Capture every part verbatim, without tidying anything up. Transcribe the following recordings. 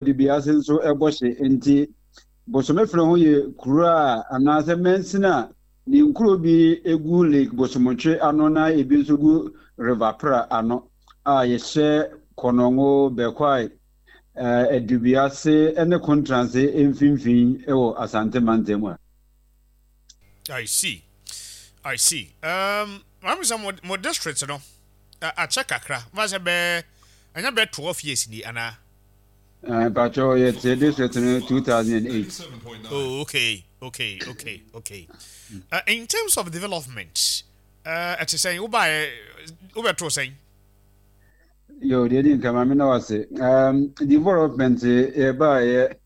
Edubiase nso ɛbɔ hye. Nti Bosome Freho yɛ kuro a anaasɛ mansini a ne nkuro bi egu Lake Bosomtwe ano na ebi nso gu River Pra ano a yɛhyɛ Konongo, Bekwai, Edubiase ne Kontranse mfimfini wɔ Asante mantam a. I see. I see. Um, maame sɛ mo mo district no akyɛ kakra. Mo sɛ bɛɛ ɛnyɛ bɛɛ twelve years ni anaa? Mpakyɛw, yɛte district no two thousand and eight. Oh, okay, okay, okay, okay. Uh, in terms of development, uh, ɛte sɛn? Wobaeɛ wobɛtoo sɛn? Yo, deɛ di nka, maame na wase um, development yɛbaeɛ,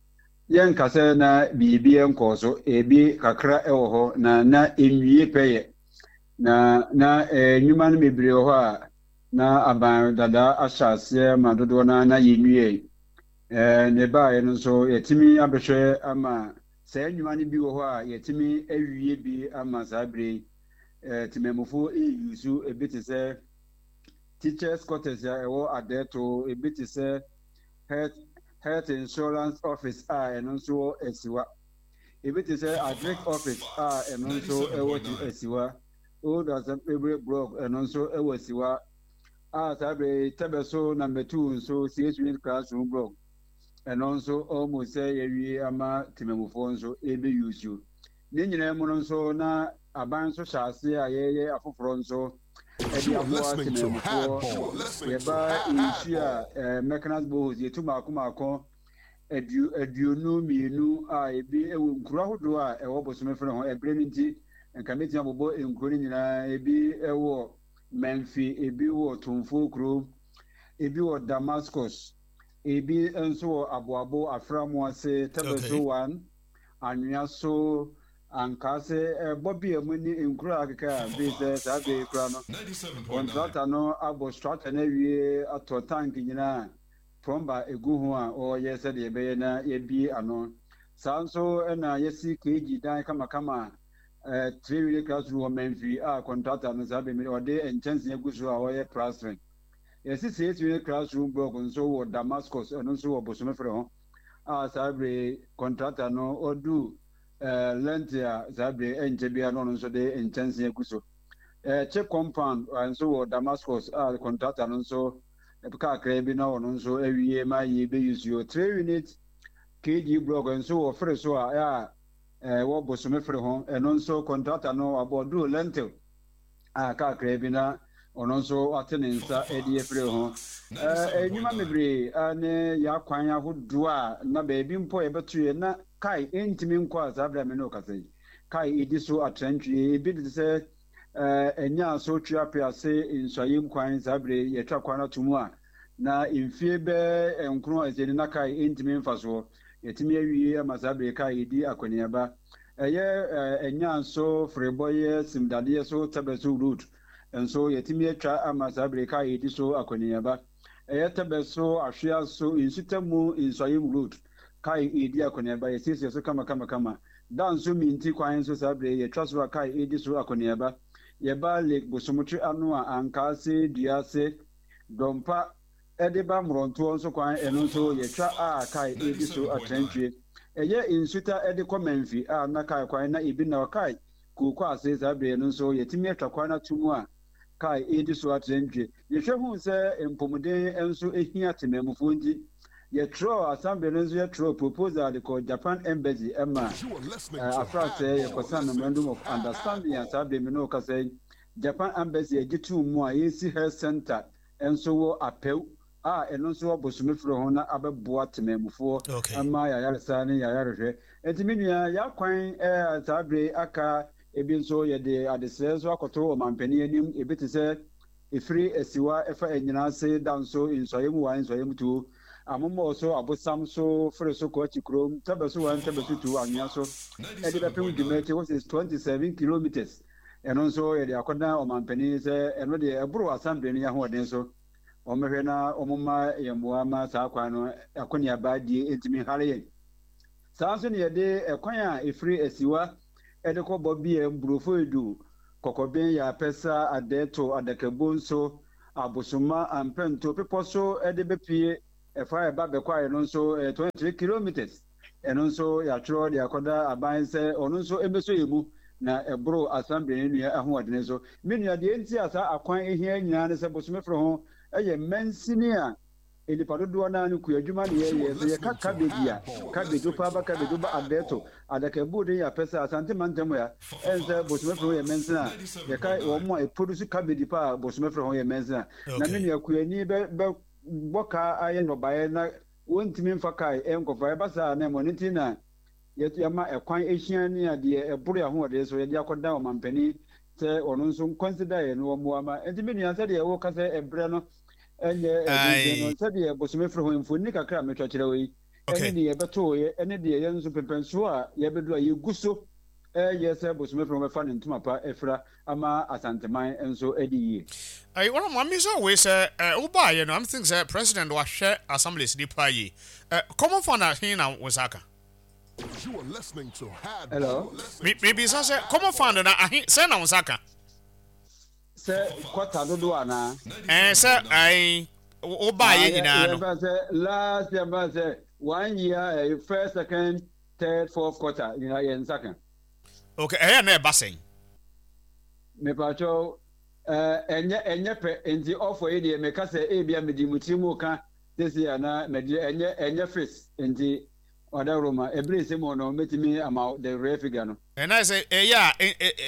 yɛnka sɛ na biribi nkɔɔ so. Ebi kakra ɛwɔ hɔ na na nwie pɛyɛ na na nnwuma no bebree wɔ hɔ a na aban dada ahyɛ aseɛ ma dodoɔ no na yɛnwie. ɛɛ ne baeɛ no nso, yɛtumi abɛhwɛ ama saa nnwuma no bi wɔ hɔ a yɛtumi awie bi ama saa bere yi ɛɛ temamufoɔ eyi so. Ebi te sɛ teachers' quarters a ɛwɔ Adɛto, ebi te sɛ health health insurance office a ɛno nso wɔ Asiwa, ebi te sɛ agric office a ɛno nso ɛwɔ Asiwa, Old Assembly Block, ɛno nso ɛwɔ Asiwa a saa bere tɛbɛ so number two nso six unit classroom block, ɛno nso almost sɛ yɛwie ama temamufoɔ nso ebe use. Ne nyinaa mu no nso, na aban nso hyɛ ase a yɛyɛ afoforɔ nso ɛde aboa temamufoɔ. Yɛba nsu a ɛɛ mechanized boreholes, yɛtu mako mako aduonu mmienu a ebi ɛwɔ nkuro ahodoɔ a ɛwɔ Bosome Freho. Ɛbrɛ no nti nka mɛtumi abobɔ nkuro no nyinaa. Ebi ɛwɔ Mɛnfi, ebi wɔ Tumfuo kurom, ebi wɔ Damascus, ebi nso wɔ Aboabo Aframoase, Tɛbɛso one, Anwea so, Ankaase, ɛbɔ bi a mu ne nkuro a akeka a bi sɛ saa bere kura no, contractor no abɔ structure no awie, atɔ tank nyinaa, plumber egu ho a ɔreyɛ sɛdeɛ ɛbɛyɛ na yɛbie ano. Saa nso ɛna yɛsi K G dan kamakama ɛɛ three unit classroom wɔ Mɛnfi a contractor no saa bɛmi ɔde nkyɛnsee agu so a ɔyɛ plastering. Yɛsi six unit classroom block nso wɔ Damascus, ɛno nso wɔ Bosome Freho a saa bere contractor no ɔdu ɛɛ lintel a saa bere ɛnkyɛ biara no, ɔno nso de nkyɛnsee agu so. ɛɛ chip compound nso wɔ Damascus a contractor no nso kakra bi na ɔno nso awie ma yɛ bɛyi suo. Three unit K G block nso wɔ fere so a a ɛwɔ Bosome Freho, ɛno nso contractor no abɔ duro lintel a kakra bi na ɔno nso ate ne nsa de afiri ho. ɛɛ nnwuma bebree ne yɛakwan ahodoɔ a na baabi mpo a yɛbɛto yɛ na kae ntumi nkɔ a saa bere a me ne wo kasa yi, kae edi so atrantwie. Ebi de sɛ ɛɛ ɛnya so Tweape ase nsuayɛ nkwan, saa bere yɛtwa kwan ato mu a na mfie bɛɛ nkron a ɛsɛ ni na kae ntumi mfa soɔ, yɛtumi awie ama saa bere kae yɛdi akɔneaba. Ɛyɛ ɛɛ ɛnya nso ferebɔyɛ simdadeɛ so Tɛbɛ so road nso, yɛtumi atwa ama saa bere kae yɛdi so akɔneaba. Ɛyɛ Tɛbɛ so Ahwea so Nsutamu Nsuayɛ road, kae yɛdi akɔneaba, yɛsiesie so kamakamakama. Da nso minti kwan nso, saa bere yɛtwa so a kae yɛdi so akɔneaba. Yɛba Lake Bosomtwe ano a, Ankaase, Duase, Dɔmpa ɛde ba Mmorɔntoɔ nso kwan, ɛno nso yɛtwa a kae ɛdi so atrantwie. Ɛyɛ Nsuta ɛde kɔ Mɛmfi a na kae kwan na ebi na ɔkae kooko ase, saa bere no nso yɛtumi atwa kwan ato mu a kae ɛdi so atrantwie. Yɛhwɛ hu sɛ mpɔmuden nso ehia temamufoɔ nti, yɛtwerɛ assembly no nso, yɛtwerɛ proposal de kɔ Japan Embassy ɛma afrasɛ yɛkɔsa memorandum of understanding a saa bere mi no kasa yi, Japan Embassy agye tum mu a yɛsi health center nso wɔ Apɛw a ɛno nso wɔ Bosome Freho na abɛboa temamufoɔ ama yɛayaresa ne yɛayarehwɛ. Nti me nua, yɛakwan ɛɛ saa bere aka ebi nso, yɛde adesrɛ nso akɔto ɔmampanin anim. Ebi te sɛ efiri Asiwa ɛfa Anyina ase da nso Nsɔyɛ mu one, Nsɔyɛ mu two, Amomɔ so, Abosam so, Fere so kɔ akyi kurom, Tɛbɛ so one, Tɛbɛ so two, Anwea so ɛde bɛpem dwumakyi, which is twenty seven kilometres. Ɛno nso yɛde akɔdan ɔmampanin sɛ ɛno deɛ ɛboro assembly no yɛ ahoɔden so, wɔmmɛhwɛ na wɔmma yɛn mmoa ma saa kwan no akɔneaba die ntumi hare yɛn. Saa nso ne yɛde ɛkwan a ɛfiri Asiwa ɛde kɔ Bɔbeɛ, Mburofo Edu, Kɔkɔben, Yɛapɛsa, Adɛɛto, Adakabo nso, Abosoma, Ampɛnto, Bepɔ so ɛde bɛpie. Ɛfa ɛba Bɛkwae no nso ɛyɛ twenty three kilometres. Ɛno nso yɛatwerɛ de akɔda aban sɛ ɔno nso ɛbɛsɔ yɛ mu na ɛboro assembly ne nua ahoɔdene so. Me nua, deɛ nti a saa akwan ehia nyinaa ne sɛ Bosome Freho ɛyɛ mansini a nipa dodoɔ naa no kua adwuma ne yɛyɛ. Sɛ yɛka cabbage a, cabbage wopa aba, cabbage woba Adɛto adakabu den yɛ apɛ sɛ Asante mantam ya ɛn sɛ Bosome Freho yɛ mansini a yɛka wɔn mu a ɛproduce cabbage pa a, Bosome Freho yɛ mansini a na me nua kuani bɛ bɛ bɔ kaa ayɛ nnɔbaeɛ na wɔntumi mfa kaa ɛnkɔfa ɛba saa na ɛmɔ ne ti na yɛma ɛkwan ehyia ne adeɛ ɛboro ahoɔden so yɛde akɔda ɔmampanin sɛ ɔno nso nconsider yɛ no wɔmmoa ma. Nti me nua, sɛdeɛ wɔka sɛ ɛbrɛ no ɛnyɛ ɛdenden no, sɛdeɛ Bosome Freho mfoni kakra a metwa kyerɛ wo yi ɛne deɛ yɛbɛtooyɛ ɛne deɛ yɛn nso pɛmpɛnsoɔ a yɛbɛdu a yɛgu so ɛyɛ sɛ Bosome Freho bɛfa ne ntoma pa afira ama Asanteman nso adi yie. Ayi, wɔn maame sɛ wei sɛ ɛ wobaayɛ no, I'm think sɛ president wahwɛ assemblies nipa yi ɛ common fund ahen na wo nsa aka? Hello? Mi mibisa sɛ common fund na ahe sɛ na wo nsa aka? Sɛ kɔta dodoɔ anaa? Ɛɛ, sɛ ayi wobaayɛ nyinaa no. Yɛmfa sɛ last year, mfa sɛ one year, uh, first, second, third, fourth quarter nyinaa yɛn nsa ka. Okay, ɛyɛ na ɛba sɛn? Mepatwɛw, ɛnyɛ ɛnyɛ pɛ nti ɔfɔ yi deɛ meka sɛ ebia mede mu tiri mu ka sisi ana mede ɛnyɛ ɛnyɛ fix nti ɔdawuro ebere nsɛm mu no mɛtumi ama the real figure no. Ɛna sɛ ɛyɛ a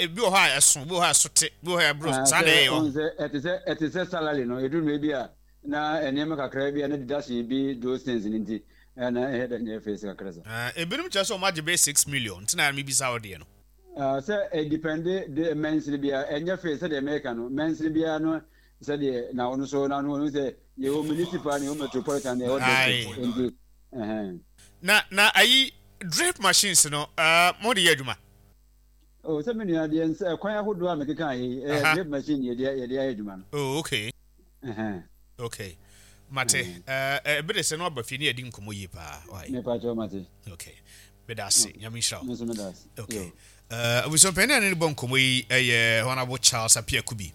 ebi wɔ hɔ a ɛso, bi wɔ hɔ a ɛso te, bi wɔ hɔ a ɛboro saa na ɛyɛ hɔ. Sɛ ɛte sɛ ɛte sɛ salary no, eduru mmerɛ bi a na nneɛma kakra bi a na deduction bi, those things ne nti ɛna ɛyɛ dɛ nyɛ fix kakra sa. Ebinom kyerɛ sɛ ɔmo agye bɛyɛ six million nti na mi bisa wɔ deɛ no. Sɛ ɛdepend de mansini bia, ɛnyɛ fix sɛdeɛ mɛka no, mansini bia no sɛdeɛ na ɔno so na ɔno sɛ yɛwɔ municipal ne yɛwɔ metropolitan ne yɛwɔ district nti ɛhɛn. na na ayi drip machines no, ɛɛ mo de yɛ adwuma? O, sɛ me nua deɛ nsɛ kwan ahodoɔ a mekeka yi, ɛyɛ drip machine yɛde yɛde ayɛ adwuma no. Oh, okay. Okay, mate. ɛɛ ɛbi de sɛ no aba fie ne yɛdi nkɔmɔ yie paa. Mepa kyɛw, mate. Okay, meda ase, Nyame nhyira wo. Nso meda ase. Okay, abusuampanin a ne bɔ nkɔmɔ yi ɛyɛ Honourable Charles Appiah Kubi,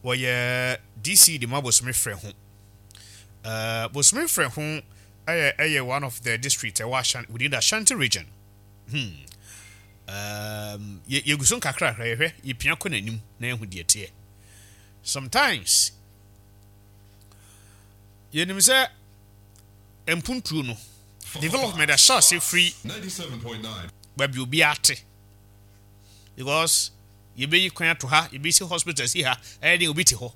wɔyɛ D C de ma Bosome Freho. uh, bosome Freho ɛyɛ ɛyɛ one of the district ɛwɔ Ashanti, within the Ashanti Region. hmm. um, yɛgu so nkakrakra, yɛhwɛ yɛpia kɔ n'anim na yɛhu deɛ teɛ. Sometimes yɛnim sɛ mpuntuo no, development ahyɛ ase firi baabi obi ate, because yɛbɛyi kwan ato ha, yɛbɛsi hospital si ha, ɛyɛ den obi te hɔ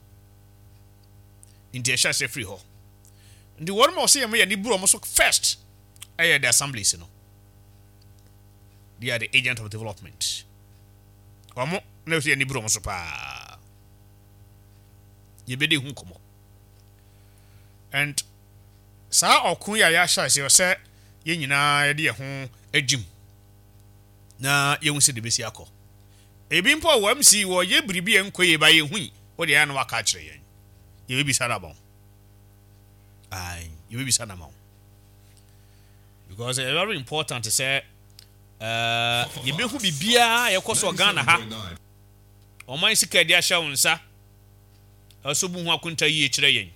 nti ɛhyɛ ase firi hɔ. Nti wɔn ma ɔsɛ yɛn mo yɛ ne buru ɔmo so first ɛyɛ the assemblies no. They are the agent of development. Wɔn na ɛsɛ yɛ ne buru ɔmo so paa. Yɛbɛdi ho nkɔmɔ and saa ɔko yi a yɛahyɛ ase sɛ yɛn nyinaa yɛde yɛn ho agyim na yɛhu sɛ de bɛsi akɔ. Ebi mpo a wɔ M C wɔyɛ biribi a nkɔ yie ba yɛn hu yi, wɔde ayɛ no waka akyerɛ yɛn, yɛbɛbisa no ama wo. Ayi, yɛbɛbisa no ama wo because ɛyɛ very important sɛ ɛɛ yɛbɛhu biribiara yɛkɔ so Ghana ha. Ɔman sika de ahyɛ wo nsa, ɛso bu ho akonta yie kyerɛ yɛn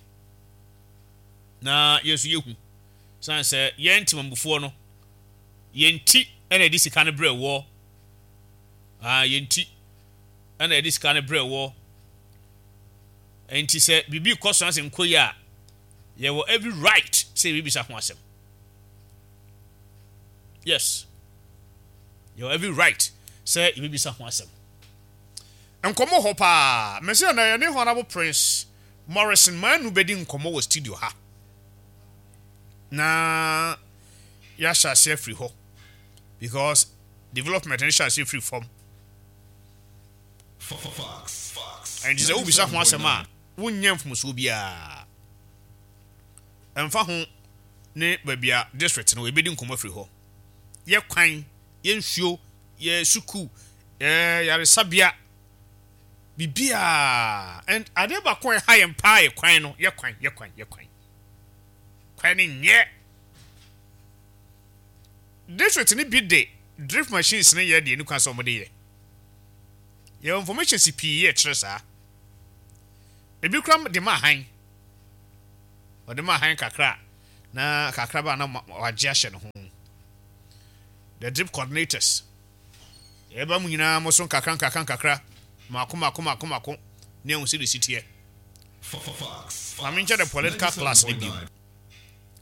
na yɛn nso yɛhu san sɛ yɛn ntemambufoɔ no, yɛn ti ɛna yɛde sika no brɛ wɔ aa yɛn ti ɛna yɛde sika no brɛ wɔ. Nti sɛ biribi kɔ so asɛ nkɔ yi a, yɛwɔ every right sɛ yɛbɛbisa ho asɛm. Yes, yɛwɔ every right sɛ yɛbɛbisa ho asɛm. Nkɔmmɔ hɔ paa mɛsɛ na yɛne Honorable Prince Morrison Manu bɛdi nkɔmmɔ wɔ studio ha na yɛahyɛ ase afiri hɔ, because development no hyɛ ase firi fam. Ɛnti sɛ wobisa ho asɛm a, wonyɛ mfomsoɔ biara. Ɛmfa ho ne baabi a district no, yɛbɛdi nkɔmmɔ afiri hɔ. Yɛ kwan, yɛ nsuo, yɛ sukuu, yɛ yaresabea, biribiaa. And adeɛ baako a ɛha yɛn paa yɛ kwan no. Yɛ kwan, yɛ kwan, yɛ kwan, kwan no nyɛ. District no bi de drip machines no yɛ deɛ ne kwan sɛ wɔde yɛ. Yɛwɔ information si pii yɛ kyerɛ saa. Ebi kura de ma ahan, ɔde ma ahan kakra Na kakra ba na wagye ahyɛ ne ho. The drip coordinators, yɛba mu nyinaa mo so nkakra nkakra nkakra, mako mako mako mako, ne ɛho sɛ de si teɛ. Maame nkyɛ the political class ne bio.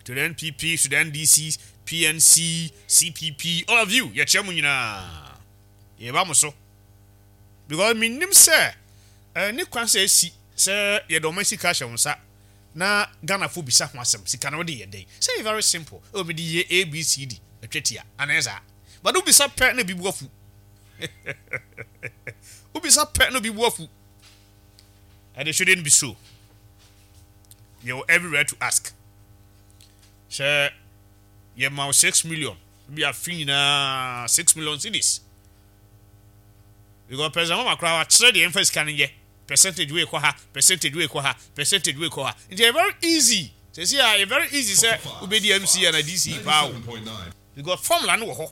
To the N P P, to the N D C, P N C, C P P, all of you, yɛkyerɛ mu nyinaa. Yɛba mo so. Because menim sɛ eh, ne kwan sɛ esi sɛ yɛde ɔman sika ahyɛ wo nsa na Ghanafo bisa ho asɛm, sika no wode yɛ dɛn? Sɛ yɛ very simple. Oh, mede yɛ A B C D, atwa tia. Anaa saa. But wobisa pɛ na bi bu afu. Wobisa pɛ na bi bu afu. And it shouldn't be so. You have every right to ask. Sɛ yɛma wo six million bi afe nyinaa, six million cedis, because President Mahama koraa wakyerɛ deɛ yɛmfa sika no yɛ, percentage wei kɔ ha, percentage wei kɔ ha, percentage wei kɔ ha, nti ɛyɛ very easy sɛsi a, ɛyɛ very easy sɛ wobɛdi M C ana D C paa o, because formula no wɔ hɔ,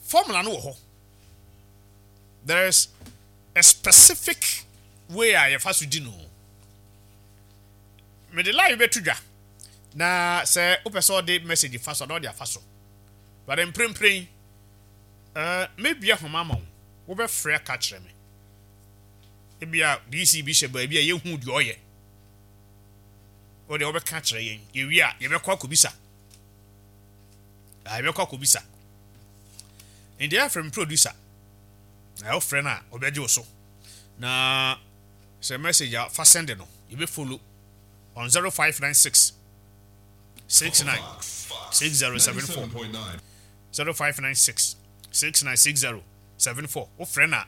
formula no wɔ hɔ. There is a specific way a yɛfa so di no. Mede live bɛto dwa na sɛ wopɛ sɛ ɔde message fa so a, na ɔde afa so, but mprempren uh, mebia homa ama wo, wobɛfrɛ aka kyerɛ me. Ebia D C bi hyɛ baabi a yɛhu deɛ ɔyɛ, wode wobɛka kyerɛ yɛn. Yɛwie a, yɛbɛkɔ akɔbisa. Ah, yɛbɛkɔ akɔbisa. Nti yɛafrɛ me producer na wofrɛ no a, ɔbɛgye wo so, na sɛ message a fa send no, yɛbɛfollow on zero five nine six six nine six zero seven four, zero five nine six six nine six zero seven four. Wofrɛ no a,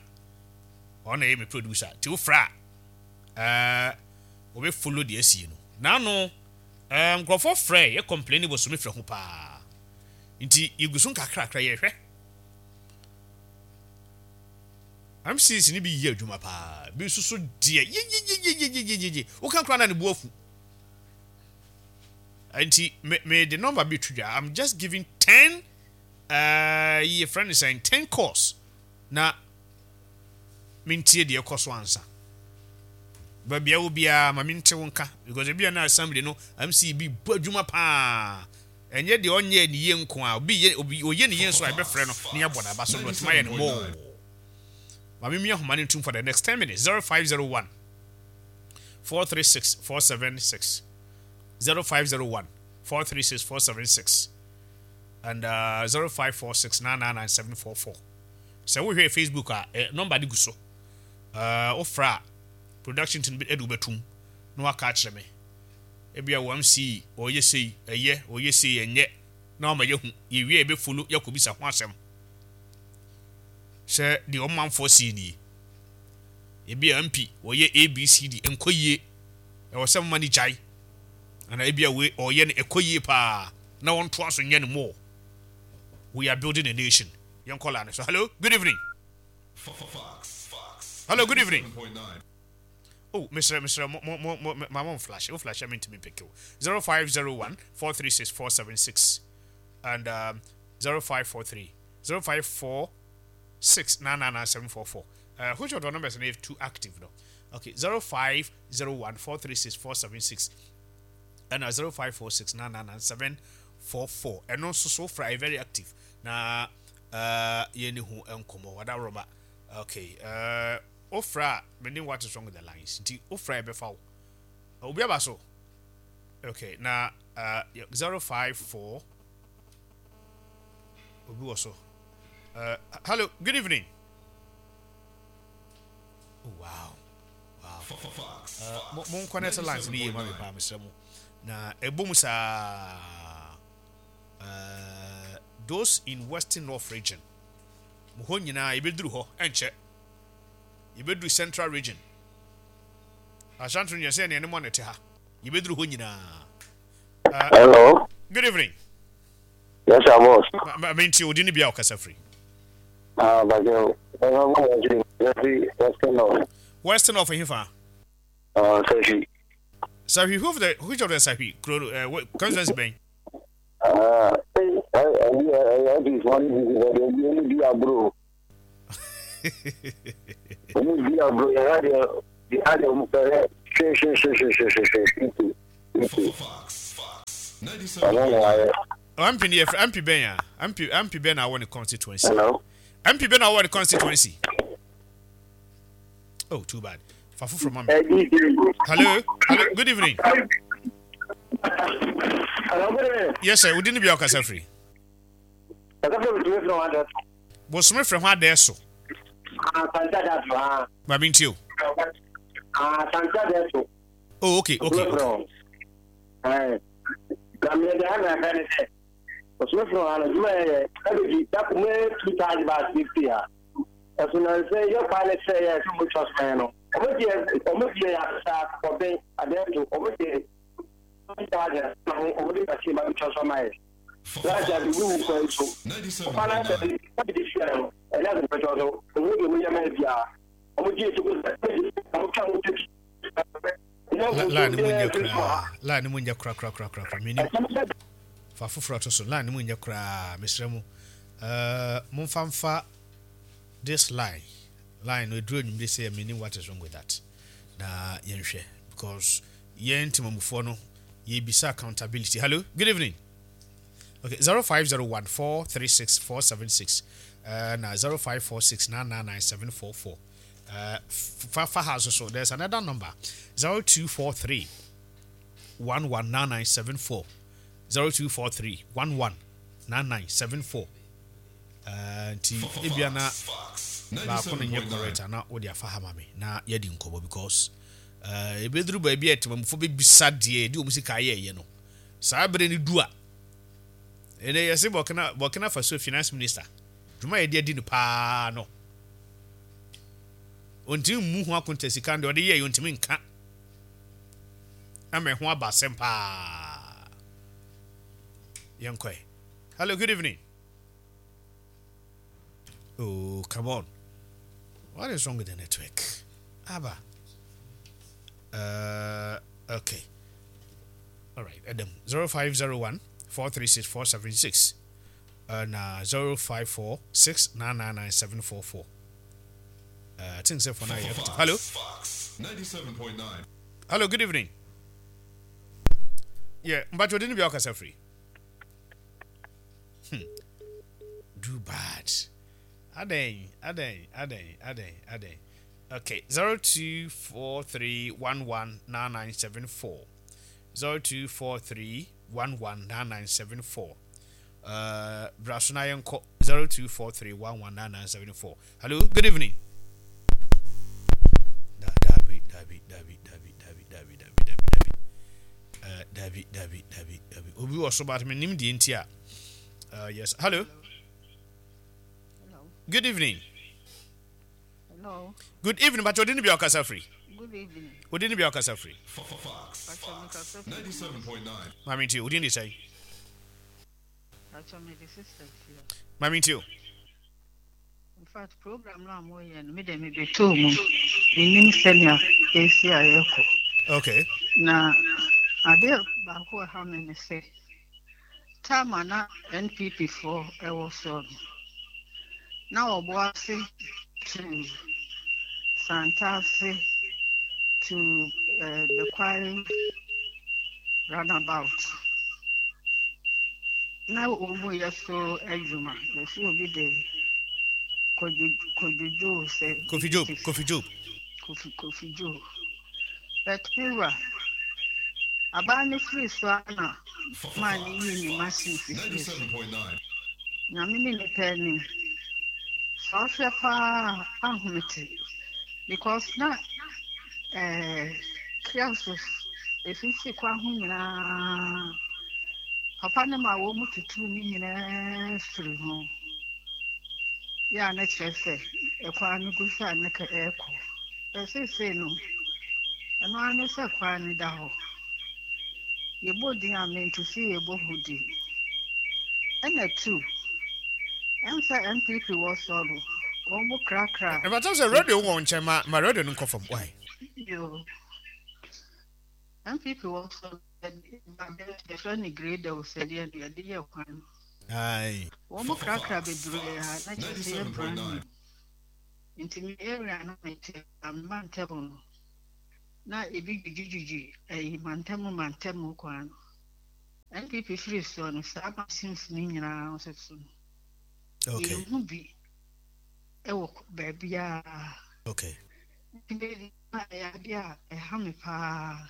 ɔno na ɛyɛ me producer, nti wofrɛ a ɛɛ wɔbɛfollow deɛ asie no. Naano ɛɛ nkurɔfoɔ frɛ yɛ complain wɔ so, mefrɛ ho paa, nti yɛgu so nkakrakra yɛhwɛ. M Cs ni bi yɛ adwuma paa, bi nso so deɛ yeyeyeyeyeyeye woka koraa na ne bu afu. Nti me me de number bi to dwa. I'm just giving ten ɛɛ yɛ friend sɛn, ten calls na mentie deɛ ɛkɔ so ansa. Baabi a wo biara, ma mente wo nka, because ebi a na assembly no M C bi bɔ adwuma paa, ɛnyɛ deɛ ɔnyɛ ne yie nko a, obi yɛ, obi ɔyɛ ne yie nso a, yɛbɛfrɛ no ne yɛabɔ n'aba so no, ɔtumi ayɛ no more. Maame mi ahoma no ntum for the next ten minutes. zero five zero one four three six four seven six, zero five zero one four three six four seven six and uh, zero five four six nine nine nine seven four four. Sɛ wohwɛ Facebook a, eh, number de gu so. uh, wofrɛ a, production team bi de wobɛtum na waka akyerɛ me. Ebia wɔ M C ɔyɛ sei ɛyɛ, ɔyɛ sei ɛnyɛ, na wama yɛhu. Yɛwie a, yɛbɛfollow, yɛakɔbisa ho asɛm sɛ deɛ ɔmanfoɔ sei nie. Ebi a M P wɔyɛ A B C D nkɔ yie, ɛwɔ sɛ moma no gyae, ana ebi a wei ɔyɛ no ɛkɔ yie paa na wɔntoa so nyɛ no more. We are building a nation. Yɛnkɔ la no so. Hello, good evening. Hello, good evening. Oh, Mister Mister Mo mo mo mo ma mo flash o, flash me ntumi pick o. zero five zero one four three six four seven six and um, zero five four three zero five four six nine nine nine seven four four. Uh, which of the numbers are too active no? Okay, zero five zero one four three six four seven six and uh, zero five four six nine nine nine seven four four. Ɛno nso so fra very active na uh, yɛne ho nkɔmmɔ wadaworoma. Okay, uh, wofra a, menim what is wrong with the lines, nti wofra a, yɛbɛfa wo. Obi aba so. Okay, na uh, zero five four, obi wɔ so. uh, hello, good evening. Oh, wow wow uh, mo mo connect lines ni yie ma mi paa, mesrɛ mo, na ɛbɔ mu saa. uh, those in Western North Region, mo hɔ nyinaa yɛbɛduru hɔ, ɛnkyɛ yɛbɛduru Central Region, Ashanti Region, sɛ ɛne mo ne te ha, yɛbɛduru hɔ nyinaa. uh, Hello. Good evening. Yes, sir, boss. Ma- ma- menti odi ne bia ɔkasa firi. Ah, but you, Western North. Western North hefa? Uh, Sashi. Sahwi, who of the which of the Sahwi kuro, uh, constituency bɛn? Ah, I, I, I, I, this one is the di abro. Omu di abro, ya ya ya ya omu pere. Hwɛ hwɛ hwɛ hwɛ hwɛ hwɛ hwɛ hwɛ. Ɔmo mmoa yɛ. M P no yɛfrɛ M P bɛn a M P M P bɛn na awɔ ne constituency? Hello. M P bɛn na awɔ ne constituency? Oh, too bad. Fa foforɔ ma me. Hello, hello, good evening. Hello, good evening. Yes sir, wodi ne bia ɔkasa firi? Kasa fɛ bitumi firi wɔn adɛ. Bosome frɛ ho adɛɛ so. Ah, Santa adɛ so ah. Maame ntie o. Ah, Santa adɛ so. Oh, okay okay okay. Ɛɛ, na mi de ha na ɛfɛ ne sɛ, bosome firi wɔn ano juma yɛ yɛ ɛbɛ dako mu two thousand baht fifty ha. Ɛso na nsɛ yɛ kwan ne sɛ yɛ ɛsɛ mo twa so no. Ɔmo deɛ ɔmo deɛ yɛ asesa kɔbɛn adɛ so, ɔmo deɛ two thousand na ho ɔmo de machine ba bi twa so ama yɛ. Láti àdúgbò wù kwan so. Ɔfa náà sɛ ɛbi de fia no ɛnyɛ ase pɛtɛ so ɔmo de ɔmo yɛ mɛ bia ɔmo gye etu ko sɛ ɔmo twa ɔmo teki. Line no mu nyɛ koraa, line no mu nyɛ koraa koraa koraa koraa. Menim fa foforɔ to so. Line no mu nyɛ koraa, mesrɛ mu, uh, momfa mfa this line line no ɛduru anwummere sɛ menim what is wrong with that na yɛnhwɛ, because yɛn ntimamufoɔ no yɛbisa accountability. Hello, good evening. Okay, zero five zero one four three six four seven six uh, na zero five four six nine nine nine seven four four. uh, fa fa ha so so there's another number, zero two four three one one nine nine seven four, zero two four three one one nine nine seven four. uh, nti ebia na baako no nyɛ correct ana wode afa ha ma me na yɛdi nkɔmmɔ, because uh, ebɛduru baabi a temamufoɔ bɛbisa deɛ ɛde wɔn sika ayɛɛyɛ no. Saa bere no du a, ɛnɛ yɛse burkina burkina Faso finance minister dwuma yɛde adi no paa no, ɔntumi mmu ho akonta. Sika no deɛ ɔde yɛɛ, ɔntumi nka ama ɛho aba asɛm paa. Yɛnkɔɛ. Hello, good evening. Oh, come on, what is wrong with the network? Aba, uh, okay, all right. Adam, zero five zero one four three six four seven six uh, na zero five four six nine nine nine seven four four. uh, I think so for now. Yeah. Hello. ninety-seven point nine. Hello, good evening. Yeah, but you didn't be akasa free. Hmm. Do bad. Aden, aden, aden, aden, aden. Okay, zero two four three one one nine nine seven four, zero two four three one one nine nine seven four. Uh, Brasuna yɛnkɔ zero two four three one one nine nine seven four. Hello, good evening. Da dabi dabi dabi dabi dabi dabi dabi dabi dabi. Uh, dabi dabi dabi dabi. Obi wɔ so but menim deɛ nti a. Uh, yes. Hello. Hello. Good evening. Hello. Good evening. But you didn't be akasa free. Good evening. Wodin ne bia ɔkasa firi? Fox. Pacho mekasa firi. ninety-seven point nine. Maame nti wodin de sɛn? Pacho mede sister fia. Maame nti o. In fact, program no a moyɛ no, me de mebɛtɔɔ mu. Menim sɛnea ɛsi a yɛkɔ. Okay. Na adeɛ baako a ɛha me ne sɛ, time a na N P P foɔ ɛwɔ soɔ no, na wɔbɔ ase to Santase to uh, Bekwai roundabout. Na wɔn mu yɛ so adwuma. Yɛsɛ obi de Kojo Kojo Joe sɛ Kofi Job, Kofi Job. Kofi Kofi Joe. But Mewura, abaa ne firi so a na maa ne yii ne machine fifiri so. ninety-seven point nine. Nyame ne nipa anim. Sɛ ɔhwɛ paa ahomete because na ɛɛ kiosks esisi kwan ho nyinaa. Papa ne ma wɔn mu tutu ne nyinaa firi ho. Yɛ a na kyerɛ sɛ ɛkwan no gu so a ne ka ɛrekɔ. Ɛseesei no, ɛno ara ne sɛ kwan no da hɔ. Yɛbɔ din a mente sɛ yɛbɔ ho din. Ɛna two, ɛm sɛ N P P wɔ soɔ no, wɔn mo krakra. Ɛbɛtɔ sɛ radio wɔ nkyɛn, ma ma radio no nkɔ fam, why? Yo. N P P wɔ soɔ no, yɛde yɛfrɛ no grader o, sɛdeɛ no yɛde yɛ kwan no. Aye. Wɔn mo krakra bebree a na kyerɛ sɛ yɛ brand new. Nti me area no mete ama ntɛm no. Na ebi dwidwidwidwi ɛyi mantam mantam kwan no. N P P firi soɔ no, saa machines no nyinaa nso so no, Okay. yɛnhu bi ɛwɔ baabiara. Okay. Nti ɛyɛ adeɛ a ɛha me paa.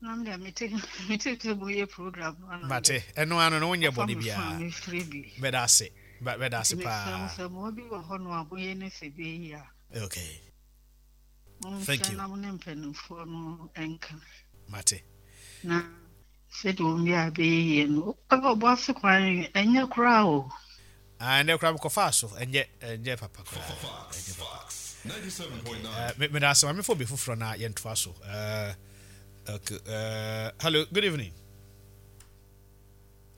Na me deɛ, mete mete sɛ moyɛ program no ana. Mate. Ɛno ano no, wonyɛ ɔfa bɔne me phone a biara. Mefrɛ bi. Mɛda ase. Ba- Mɛda ase Nti mesrɛ mo paa. sɛ mmoa bi wɔ hɔ no a moyɛ ne sɛ bɛyi a, Okay. Thank monhwɛ you. na mo ne mpanimfoɔ no nka. Mate. Na sɛdeɛ wɔn bi a bɛyɛ yie no, ɛwɔ ɔbɔ kwan ɛnyɛ koraa o. Ah, ɛnɛ koraa mekɔfaa so. Ɛnyɛ ɛnyɛ papa koraa. Ɛnyɛ papa. ninety-seven point nine. Uh, me meda ase. Maame fo bi foforɔ na yɛntoa so. Uh, okay. Uh, hello, good evening.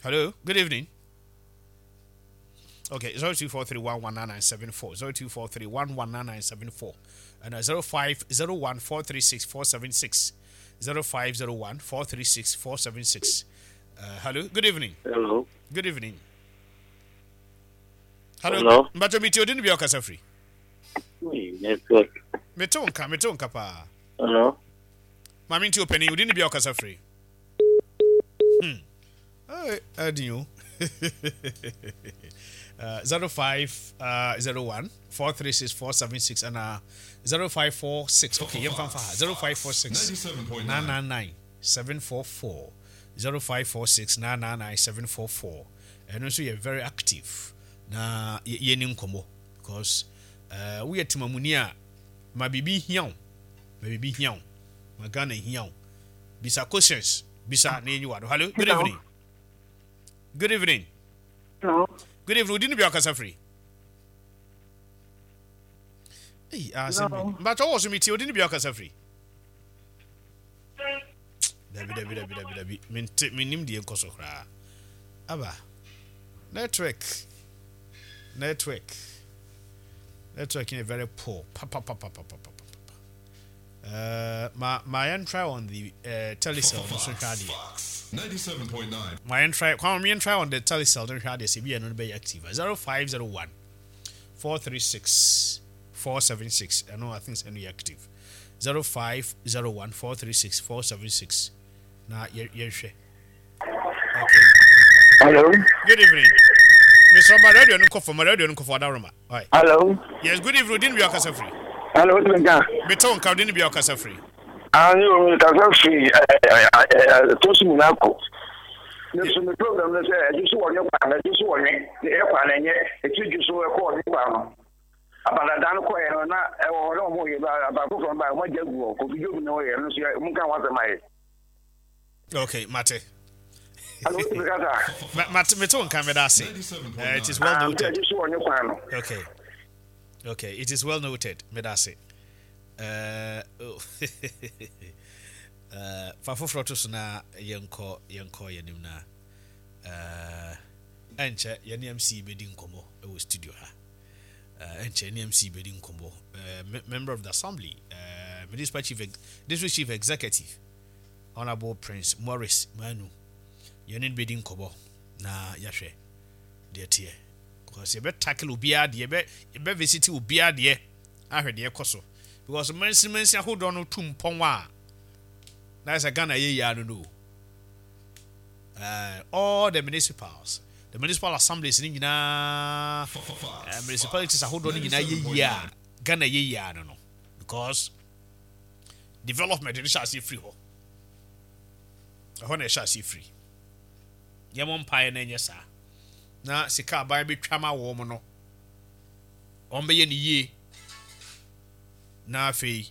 Hello, good evening. Okay, zero two four three one one nine nine seven four, zero two four three one one nine nine seven four, and uh, zero five zero one four three six four seven six, zero five zero one four three six four seven six. Uh, hello, good evening. Hello. Good evening. Hello. Hello. Mbato mi ti odi ni bi ɔkasa firi. Hey, network. Mete wo nka, mete wo nka paa. Hello. Maame, nti opanin, odi ni bi ɔkasa firi. Hmm. Hey, ɛdi o. Uh, zero five uh, zero one four three six four seven six and uh, zero five four six. Okay, yɛn fan fa ha, zero five four six ninety-seven point nine. nine nine nine seven four four, zero five four six nine nine nine seven four four. Ɛno nso yɛ very active na yɛ yɛni nkɔmɔ because uh, woyɛ temamuni a, ma biribi hia wo, ma biribi hia wo, ma Ghana hia wo, bisa questions, bisa na yɛnyi wa do. Hello, good Hello. evening. Good evening. Hello. Good evening. Odi ni bi ɔkasa firi. Ei, asɛm bi. Hello. Mbatɔ wɔ so, mi tie. Odi ni bi ɔkasa firi. Dabi, dabi, dabi, dabi, dabi, mente, menim deɛ nkɔ so koraa. Aba network, network, network yɛ very poor papapapapapapa. Uh, ma ma yɛn try on the uh, Telecel no so hwɛ adeɛ. Fox ninety-seven point nine. Ma yɛn try kwan, yɛn try on the Telecel no hwɛ adeɛ sɛ ebi yɛn no bɛyɛ active. zero five zero one four three six four seven six. Ɛno, I think ɛno yɛ active. zero five zero one four three six four seven six na yɛ yɛhwɛ. Okay. Hello. Good evening. Mister Ma radio no nkɔ fam, ma radio no nkɔ fam, ɔdaroma. All right. Hello. Yes, good evening. Odin bi ɔkasa firi. Hello, what's been done? Mete wo nka. Odin bi ɔkasa firi. Ah, you kasa firi ɛ tosu mu n'ako. Ne so me program no sɛ ɛgye so wɔ ne kwan no, ɛgye so wɔ ne ne ɛkwan no ɛnyɛ ɛti dwu so ɛkɔ ne kwan no. Abadada no kɔɛ no na ɛwɔ hɔ na ɔmo yɛ ba aba foforɔ ba, ɔmo agya gu hɔ. Kofi Job na ɔyɛ no so yɛ ɔmo nka ho asɛm ayɛ. Okay, mate. Hello, what's been kasa? Ma- Mate, mete wo nka, meda ase. Uh, it is well Ah, noted. ɛgye so wɔ ne kwan no. Okay. Okay, it is well noted. Medase. Uh, oh. uh, fa foforɔ to so na yɛnkɔ yɛnkɔ yɛnim na uh, ɛnkyɛ yɛne M C bɛdi nkɔmmɔ ɛwɔ studio ha. Uh, ɛnkyɛ yɛne M C bɛdi nkɔmmɔ, uh, me- member of the assembly, uh, municipal chief ex- district chief executive, Honorable Prince Morris Manu, yɛne no bɛdi nkɔmmɔ na yɛahwɛ deɛ teɛ because yɛbɛ tackle obiara deɛ, yɛbɛ yɛbɛ visit obiara deɛ, ahwɛ deɛ ɛkɔ so because mansin mansin ahodoɔ no tu mpɔn a na sɛ Ghana yɛ yia no no uh, all the municipals, the municipal assemblies ne nyinaa, uh, municipalities ahodoɔ no nyinaa yɛ yie a, Ghana yɛ yie no no because development no hyɛ aseɛ firi hɔ. Ɛhɔ na ɛhyɛ aseɛ firi. Yɛmɔ mpaeɛ na ɛnyɛ saa na sika aban bɛtwa ma wɔn no, wɔn bɛyɛ ne yie na afei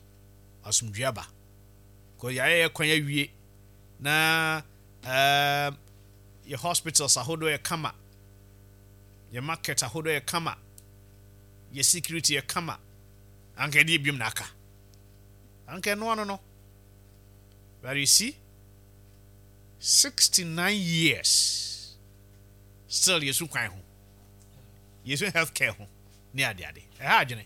asomdwe aba kò yɛayɛ yɛ kwan awie na ɛɛm yɛ hospitals ahodoɔ yɛ kama, yɛ market ahodoɔ yɛ kama, yɛ security yɛ kama, anka yɛde ebiom na aka anka ɛnoa no no But you see, sixty nine years still yɛsu kwan ho, yɛsu health care ho ne adeade ɛha adwene.